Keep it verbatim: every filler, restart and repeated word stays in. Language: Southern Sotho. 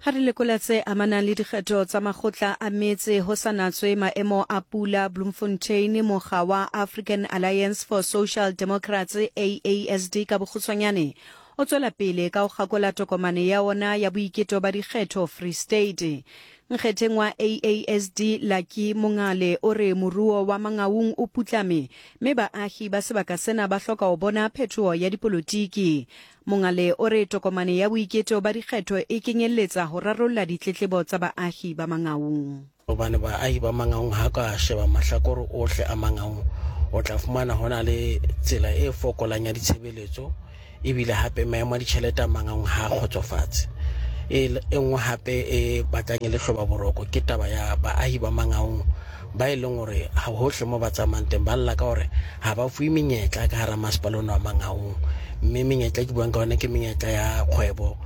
Ha re lekola tse amanang le dikgetho tsa makgotla a metse ho sa natswe maemo a pula Bloemfontein, mokga wa African Alliance for Social Democrats, A A S D ka bokgutshwanyane, o tswela pele ka ho kgakola tokomane ya ona ya boiketo ba dikgetho Free State. Nkgetheng wa A A S D Lucky Mongale o re moruo wa Mangaung o putlame mme baahi ba sebaka sena ba hloka ho bona phetoho ya dipolotiki. Mongale o re tokomane ya boiketo ba dikgetho e kenyelletsa ho rarolla ditletlebo tsa baahi ba Mangaung. Hobane baahi ba Mangaung ha ka sheba mahlakore ohle a Mangaung, o tla fumana hona le tsela e fokolang ya ditshebeletso, ebile hape maemo a ditjhelete a Mangaung ha a kgotsofatse. E nngwe hape e batlang e le hloba boroko ke taba ya baahi ba Mangaung ba e leng hore ha hohle mo ba tsamayang teng ba lla ka hore ha ba fuwe menyetla ka hara masepala ona wa Mangaung. Mme menyetla ke buang ka yona ke menyetla ya kgwebo,